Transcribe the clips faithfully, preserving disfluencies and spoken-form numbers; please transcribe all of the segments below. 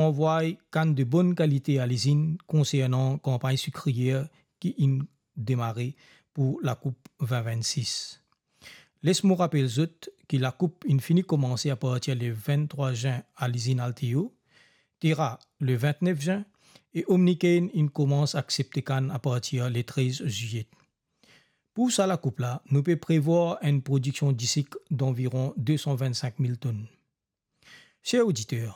anvway kann de bonn kalite a lizinn konsernan kanpagn sikriyer ki inn demare pou lakoup vin vinn sis. Les mo rapel zot ki lakoup inn fini koumanse apartir le vinn trwa zin a lizinn Alteo, Terra le vinn nef zin e Omnicane inn koumans aksepte kann apartir le trez zilyet. Pou sa lakoup la, nou pe prevwar enn prodiksion disik danviron de san vinn sink mil tonn. Ser oditer,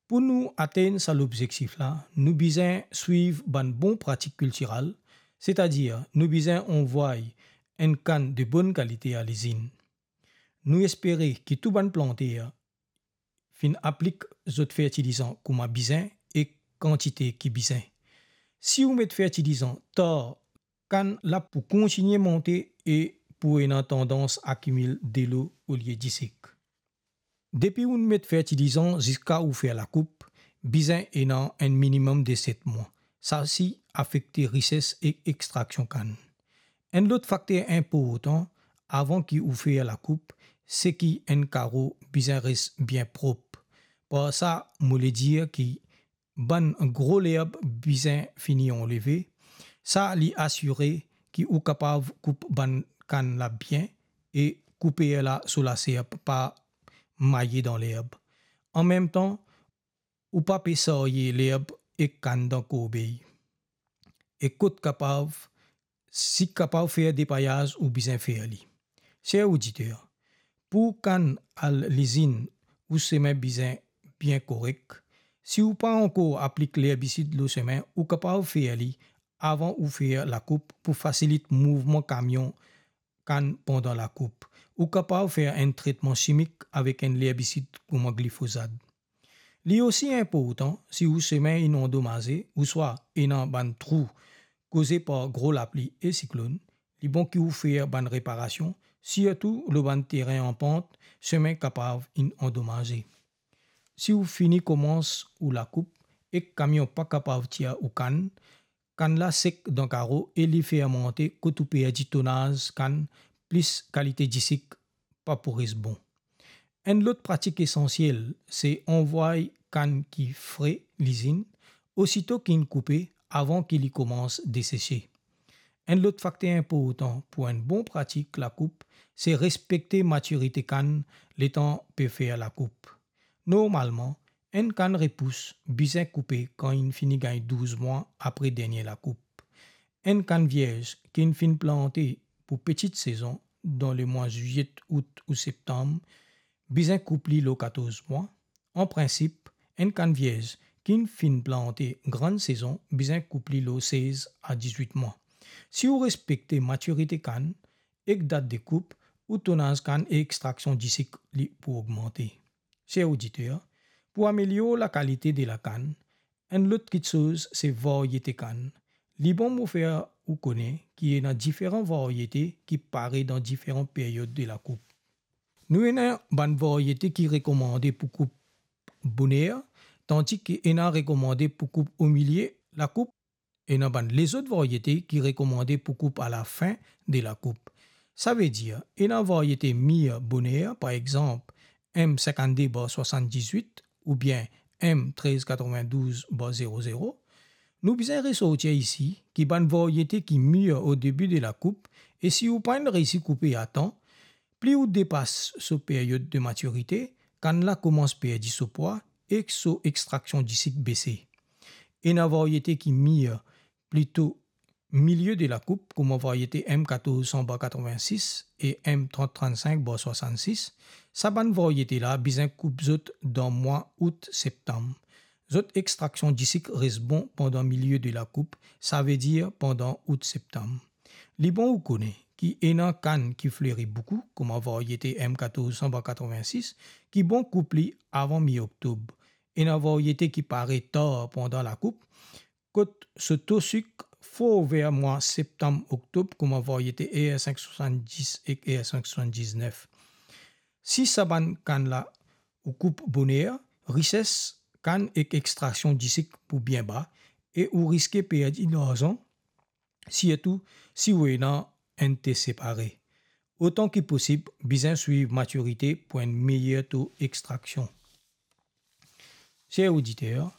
pou nou atenn sa lobzektif la, nou bizin swiv bann bon pratik kiltiral, setadir nou bizin anvway enn kann de bonn kalite a lizinn. Nou espere ki tou bann planter finn aplik zot fertilizan kouma bizin e kantite ki bizin. Si ou met fertilizan tar, kann la pou kontigne monte e pou ena tandans akimil delo olie disik. Depi ou met fertilizan ziska ou fer lakoup, bizin ena enn minimem de set mwa. Sa osi afekte rises e extraksion kann. Enn lot fakter inportan avan ki ou fer lakoup, se ki enn karo bizin res bien prop. Par sa, mo le dir ki bann gro lerb bizin fini anleve. Sa li asire ki ou kapav koup bann kann la bien e kouper la so laser pa maye dan lerb. Anmemtan, ou pa pe sarye lerb ek kann dan korbey. E kot kapav, si kapav fer depayaz, ou bizin fer li. Ser oditer, pou kann al lizinn, ou semin bizin bien korek. Si ou pa ankor aplik lerbisid lor semin, ou kapav fer li avan ou fer lakoup pou fasilit mouvman kamion kann pandan lakoup. Ou kapav fer enn tretman simik avek enn lerbisid kouma glifozat. Li osi inportan, si ou semin inn andomaze ouswa ena bann trou koze par gro lapli e siklonn, li bon ki ou fer bann reparasion, sirtou lor bann terin an pant, semin kapav inn andomaze. Si ou fini koumans ou lakoup ek kamion pa kapav tir ou kann, kann la sek dan karo e li fermante kot ou perdi tonaz kann, plis kalite disik pa pou res bon. Enn lot pratik esansiel, se anvway kann ki fre lizinn, osito ki inn koupe, avan ki li koumans desese. Enn lot fakter inportan pou enn bon pratik lakoup, se respekte matirite kann letan pe fer lakoup. Normalman, enn kann repous bizin koupe kan inn fini gagn douz mwa apre dernie lakoup. Enn kann vierz ki inn finn plante pou petit sezon dan lemwa zilyet, out ou septam, bizin koup li lor katorz mwa. An prinsip, enn kann vierz ki inn finn plante gran sezon bizin koup li lor sez a dizwit mwa. Si ou respekte matirite kann ek dat de koup, ou tonaz kann e extraksion disik li pou ogmante. Ser oditer, pou amelior lakalite de lakann, enn lot kitsoz se varyete kann. Li bon mo fer ou kone ki ena diferan varyete ki pare dan diferan period de lakoup. Nou ena bann varyete ki rekomande pou koup boner, tandi ki ena rekomande pou koup omilie lakoup. Ena bann lezot varyete ki rekomande pou koup alafin de lakoup. Savedir, ena varyete mir boner, par exanp, M sinkannde bar swasanndizwit oubien M trez katrevin-douz bar zero zero. Nou bizin resortir isi ki bann varyete ki mir o debi de lakoup, e si ou pa'nn reysi koupe atan, pli ou depas so period de matirite, kann la koumans perdi so pwa ek so extraksion disik bese. Ena varyete ki mir plito milie de lakoup, kouma varyete M katorz san bar katrevin-sis e M trant trant-sink bar swasann-sis. Sa bann varyete la bizin koup zot dan mwa out-septam. Zot extraksion disik res bon pandan milie de lakoup, savedir pandan out-septam. Li bon ou kone ki ena kann ki fleri boukou, kouma varyete M katorz san bar katrevin-sis, ki bon koup li avan mi-oktob. Ena varyete ki pare tar pandan lakoup, kot so to sik for ver mwa septam-oktob, kouma varyete R sink swasanndis ek R sink swasanndisnef. Si sa bann kann la ou koup boner, rises kann ek extraksion disik pou bien ba e ou riske perdi larzan, sirtou si ou ena enn te separe. Otan ki posib, bizin swiv matirite pou enn meyer to extraksion. Ser oditer,